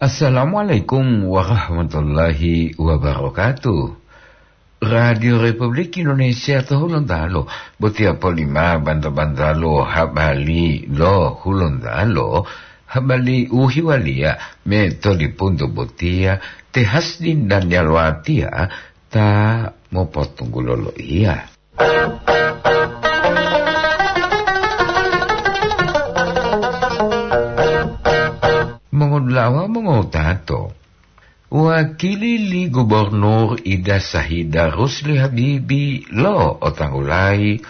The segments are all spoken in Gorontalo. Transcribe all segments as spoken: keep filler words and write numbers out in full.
Assalamualaikum warahmatullahi wabarakatuh. Radio Republik Indonesia to Hulontalo, botiya polima banta-bantalo habari lo Hulontalo, habari u hiwaliya me to lipunto botiya, te Hasdin dan Yalwatia ta mopotunggulo loiya. Mongodulawa mongotato, wakili li Gubernur Ida Sahida Rusli Habibi lo otanggulayi,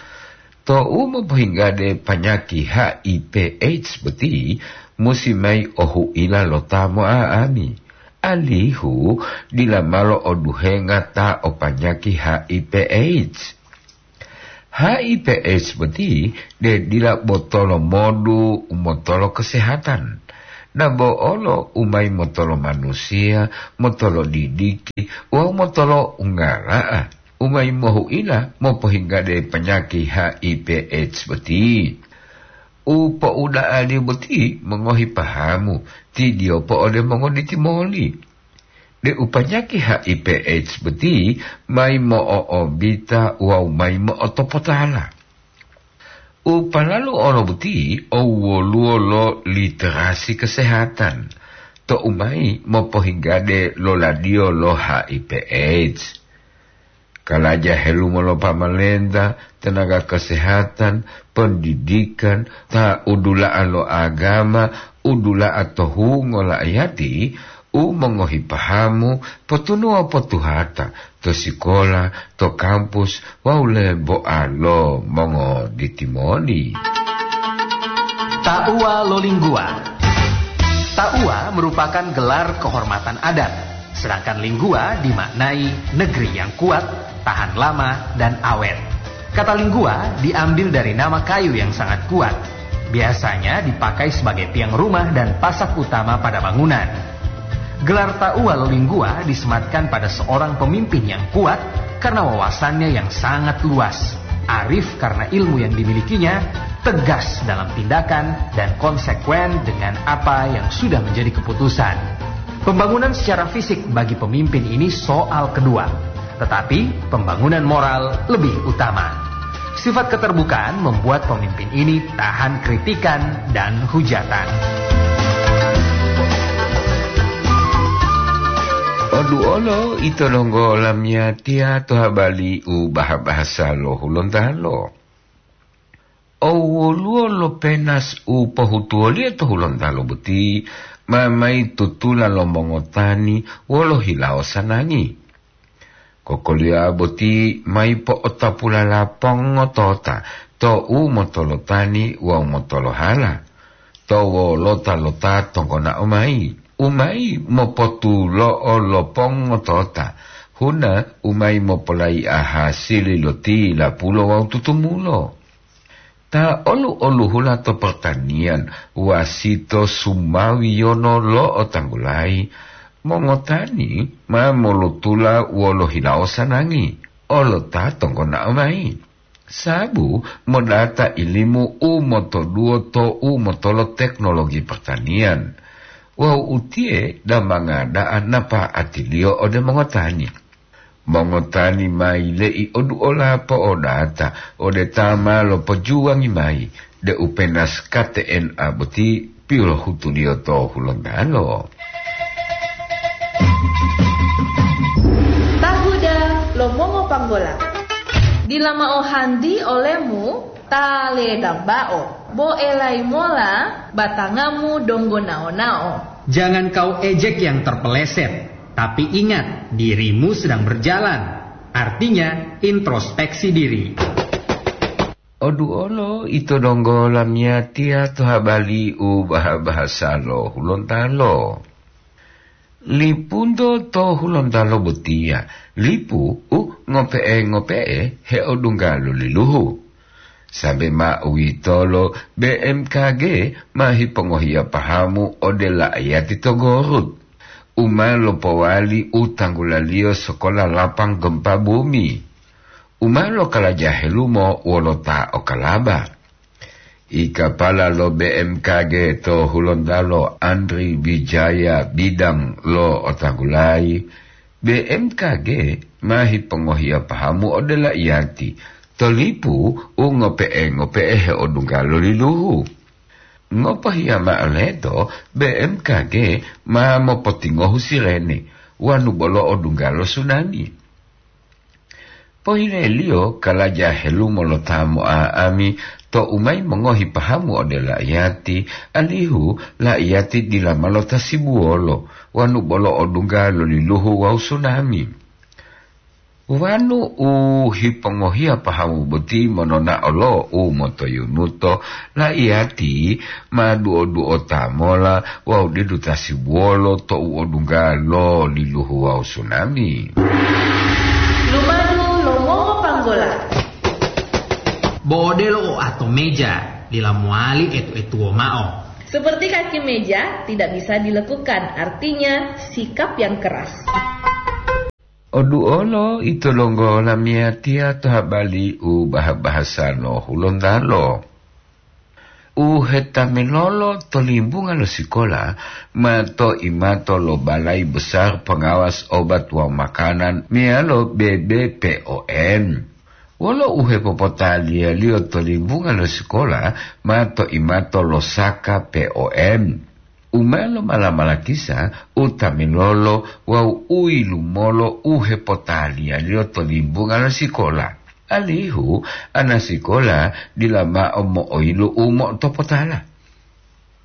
tou mopohinggade panyaki H I V AIDS boti musi mayi ohuila lo ta mo'a'ami, alihu dila malo oduhenga ta o panyaki H I V AIDS. H I V AIDS boti de dila botolo modu u motolo kesehatan, dabo olo u mayi motolo manusiya, motolo didiki wawu motolo unggala'a, u mayi mohuila mopohinggade panyaki H I V AIDS boti. U po'uda'aliyo boti mongohi pahamu, tidiyopo ode mongoditimoli, de u panyaki H I V AIDS boti mayi mo'o'obita wawu mayi mo'otopotala. U palalu olo boti o woluwo lo literasi kesehatan, to u mayi mopohinggade loladiyo lo H I V AIDS. Kalaja helumo lo pamalenta, tenaga kesehatan, pendidikan, ta udula'a lo agama, udula'a to hungo la'ayati, u mongohi pahamu, potunuwa potuhata to sikola, to kampus, wawu lebo'a lo mongoditimoli. Ta'uwa lo lingguwa. Ta'uwa merupakan gelar kehormatan adat, sedangkan lingguwa dimaknai negeri yang kuat, tahan lama, dan awet. Kata lingguwa diambil dari nama kayu yang sangat kuat. Biasanya dipakai sebagai tiang rumah dan pasak utama pada bangunan. Gelar Ta'uwa lo Lingguwa disematkan pada seorang pemimpin yang kuat karena wawasannya yang sangat luas, arif karena ilmu yang dimilikinya, tegas dalam tindakan, dan konsekuen dengan apa yang sudah menjadi keputusan. Pembangunan secara fisik bagi pemimpin ini soal kedua, tetapi pembangunan moral lebih utama. Sifat keterbukaan membuat pemimpin ini tahan kritikan dan hujatan. Oduolo ito donggo lamiyatiya to habari u baha-bahasa lo Hulontalo. O woluwo lo penas u pohutuwoliyo to Hulontalo boti, ma mayi tutula lo mongotani wolo hilawo sanangi. Kokoliyowa boti mayi po'otapulala pongotota to u motolotani wawu motolohala, to wolota lo ta tonggonao mayi, u mayi mopotulo'o lo pongotota, huna u mayi mopolai'a hasili lo tilapulo wawu tutumulo. Ta olu-oluhula to pertanian, wasito sumawiyono lo'otanggulayi, mongotani ma molotula wolo hilawo sanangi, olo ta tonggonao mayi. Sabu modata ilimu u motoduwo to u motolo teknologi pertanian, wawu utiye damanga da'a napa'atiliyo ode mongotani. Mongotani ma yile'i oduola po'odata ode ta ma lopojuwangi mayi deu penas K T N A boti pilohutuliyo to Hulontalo. Tahuda lo mongopanggola. Dila mao hanti olemu ta ledambao, bo elayi mola batangamu donggo nao-nao. Jangan kau ejek yang terpeleset, tapi ingat, dirimu sedang berjalan. Artinya, introspeksi diri. Oduolo ito donggo lamiyatiya to habari u baha-bahasa lo Hulontalo. Lipunto to Hulontalo botiya, lipu u ngope'e-ngope'e heodungga lo liluhu. Sambe ma uwitolo, B M K G ma hipongohiya pahamu ode la'ayati to Gorut, u ma lopowali u tanggulaliyo sokola lapang gempa bumi, u ma lokalaja helumo wolo ta o Kalaba. I kapala lo B M K G to Hulontalo, Andri Wijaya Bidang, lo'otanggulayi, B M K G ma hipongohiya pahamu ode la'iyati to lipu u ngope'e-ngope'e heodungga lo liluhu. Ngopohiya mao leto, B M K G ma mopotingohu sirene wanu bolo odungga lo sunami. Pohileliyo kalaja helumo lo ta mo'a'ami tou mayi mongohi pahamu ode la'iyati, alihu la'iyati dila ma lotasibuwolo wanu bolo odungga lo liluhu wawu sunami. Wanu u hipongohiya pahamu boti monona'o lo u motoyunuto, la'iyati ma duo-duota mola wawu didu tasibuwolo tou odungga lo liluhu wawu sunami. Lumadu lo mongopanggola. Bo odelo oato meja, dila mowali etu-etuwo mao. Seperti kaki meja tidak bisa dilekukan, artinya sikap yang keras. Oduolo ito donggo lamiyatiya to habali u baha-bahasa lo Hulontalo. U hetamilolo to limbunga lo sikola ma to imato lo Balai Besar Pengawas Obat wawu Makanan meyalo B B P O M. Wolo u hepopotaliyaliyo to limbunga lo sikola ma to imato lo Saka P O M. U ma lomala-malakisa u tamilolo wawu u yilumolo u hepotaliyaliyo to limbunga lo sikola, alihu anasikola dila mao mo'oyilu u mo'otopotala.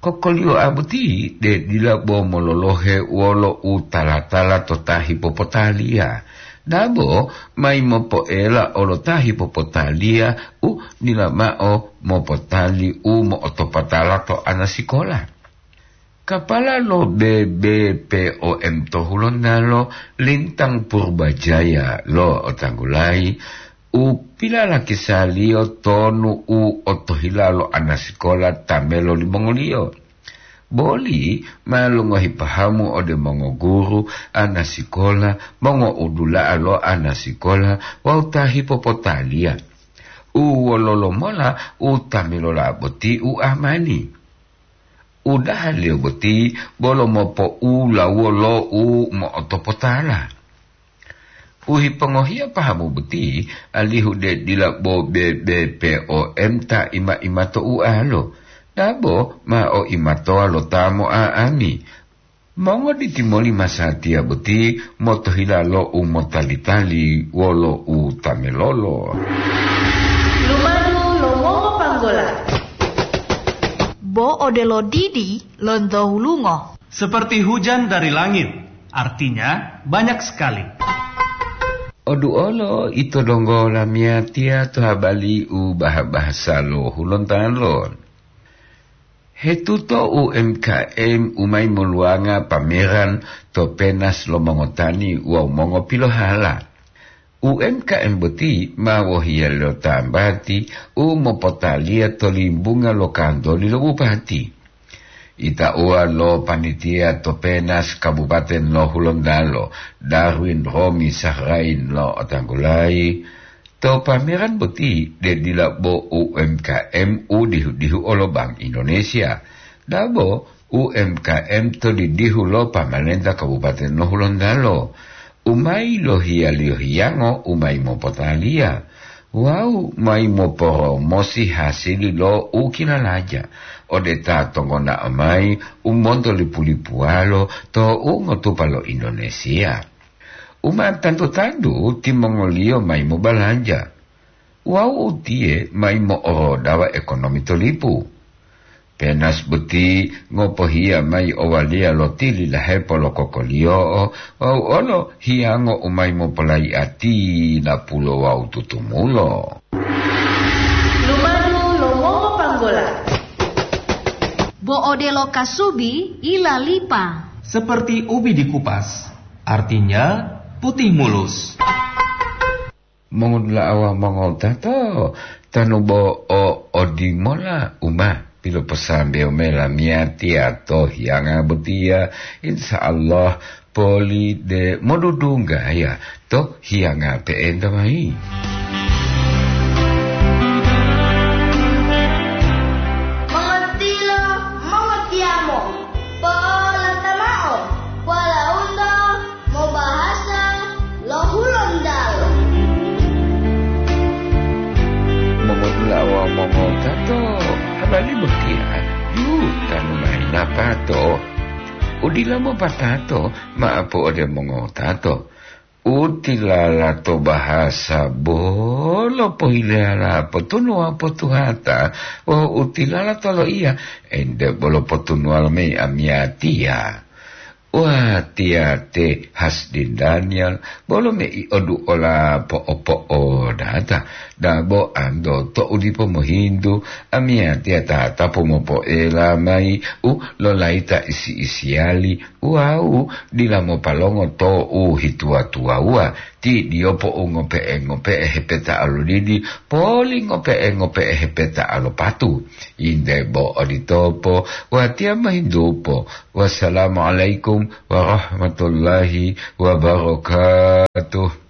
Kokoliyoa boti de dila bo mololohe wolo u tala-tala to ta hipopotaliya, dabo mayi mopoela olo ta hipopotaliya u dila mao mopotali u mo'otopotala to anasikola. Kapala lo B B P O M to Hulontalo, Lintang Purbajaya, lo'otanggulayi u pilalakisaliyo tonu u otohila lo anasikola ta melo limongoliyo. Boli ma longohi pahamu ode mongoguru, anasikola, mongoudula'a lo anasikola wawu ta hipopotaliya. U wololo mola u ta milola boti u amani? Udahaliyo boti bolo mopo'ulawuwo lo u mo'otopotala. U hipongohiya pahamu boti, alihu de dila bo B B P O M ta ima-ima to ualo, dabo ma o imatowa lo ta mo'a'ami. Mongoditi moli masatiya boti motohila lo u motali-tali wolo u ta melolo. Lumadu lo mongopanggola. Bo odelo didi lonto hulungo. Seperti hujan dari langit, artinya banyak sekali. Oduolo ito donggo lamiyatiya to habali u baha-bahasa lo Hulontalo. Hetuto U M K M u mayi moluwanga pameran to penas lo mongotani wawu mongopilohala. U M K M boti ma wohiya lo tambati u mopotaliya to limbunga lo kantoli lo bupati. Itauwa lo panitia to penas Kabupaten lo Hulontalo, Darwin Romi Sahrain, lo'otanggulayi, to pameran boti de dila bo U M K M u dihu-dihu olo Bank Indonesia, dabo U M K M to didihu lo pamalenta Kabupaten lo Hulontalo, u mayi lohiyaliyo hiyango u mayi mopotaliya wawu mayi moporomosi hasili lo u kilalaja ode ta tongonao mayi u monto lipu-lipuwalo to u ngotupa lo Indonesia. U ma tantu-tantu timongoliyo mayi mobalanja wawu utiye mayi mo'orodawa ekonomi to lipu. Penas boti ngopohiya mayi owaliya lo tili lahepo lo kokoliyo'o wawu olo hiyango u mayi mopolayi'ati napulo wawu tutumulo. Lumadu lo mongopanggola. Bo odelo kasubi ilalipa. Seperti ubi dikupas, artinya putih mulus. Mongodula'a wawu mongowutato, tanu bo o odimola u ma piloposambewo mayi lamiyatiya to hiyanga botiya, insya Allah poli de modudunggaya to hiyanga pe'enta mayi. Botiya, yu, tanu mayi lapato. Udila mopatato, ma'apu ode mongotato. Utilala to bahasa bolo pohileyala potunuwa potuhata, wawu utilala to loiya, ente bolo potunuwa lomeyi amiyatiya. Watiya te Hasdin Daniel, bolo mei oduola po'o-po'o data, dabo anto to'u dipo mohintu, amiyatiya tata pomopoela mayi u lolayita isi-isiyali, wawu dila mopalongo to'u hituwa-tuwawuwa, ti diyopo u ngope'e-ngope'e hepeta alodidi, poli ngope'e-ngope'e hepeta alopatu. Inde bo oditopo, watiya mohintupo. Wassalamualaikum warahmatullahi wabarakatuh.